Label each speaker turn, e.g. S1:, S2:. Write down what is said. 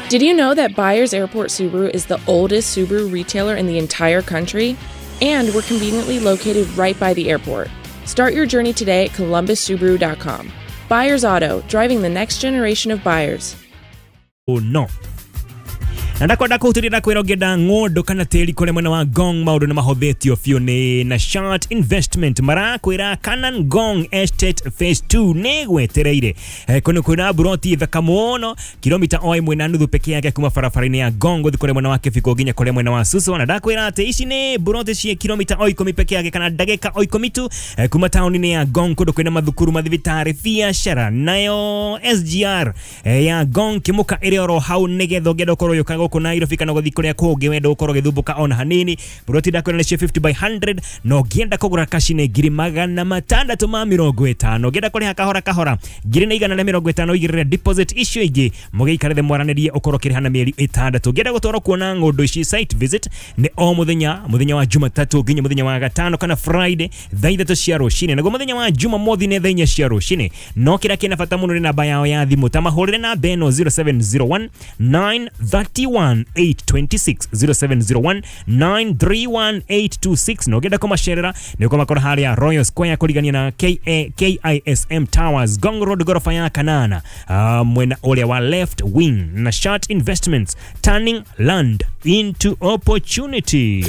S1: Did you know that Byers Airport Subaru is the oldest Subaru retailer in the entire country? And we're conveniently located right by the airport. Start your journey today at columbussubaru.com. Byers Auto, driving the next generation of buyers.
S2: No na ndakwenda kũhutĩria ndakwĩra ũngĩenda ng'ũndũ kana tĩri kũrĩa mwena wa Ngong, maũndũ nĩ mahũthĩtio biũ nĩ na Shat Investment. Marakwĩra Canan Ngong Estate Phase 2 nĩ gwetereire. Kũndũ kwĩna buroti thaka mũno, kilomita o 1.5 peke yake kuma barabara-inĩ ya Ngong gũthiĩ kũrĩa mwena wa Kĩbiko nginya kũrĩa mwena wa Suswa. Na ndakwĩra atĩ ici nĩ buroti ciĩ kilomita o 10 peke yake kana ndagĩka o 10 tu kuma taũni-inĩ ya Ngong, kũndũ kwĩna mathukuru, mathibitarĩ, biacara, nayo SGR ya Ngong Kĩmũka ĩrĩ oro hau, nĩgetha ũngĩenda ũkorwo ũgĩũka gũkũ Nairobi kana gũthiĩ kũrĩa kũngĩ wenda ũkorwo ũgĩthumbũka ona hanini. Buroti ndakwĩra nĩ cia 50 by 100, na ũngĩenda kũgũra kaci nĩ 650,000. Ũngĩenda kũrĩha kahora kahora, 150,000 ũigĩrĩre deposit, icio ingĩ mũgĩikare thĩ mwaranĩrie ũkorwo ũkĩrĩha na mĩeri 6. Ũngĩenda gũtwarwo kuona ng'ũndũ ici, site visit nĩ o mũthenya, mũthenya wa Jumatatũ nginya mũthenya wa gatano kana Friday thaa 3 cia rũcinĩ, naguo mũthenya wa Jumamothi nĩ thaa 4 cia rũcinĩ. No kĩrĩa kĩna bata mũno nĩ namba yao ya thimũ, ta mahũrĩre namba ĩno 0701 931 826, 0701 931 826. Na ũngĩenda kũmacerera nĩ ũkũmakora harĩa Royal Square kũrigania na KISM Towers, Ngong Road, gorofa ya kanana, mwena ũrĩa wa left wing. Na Shat Investments, turning land into opportunity.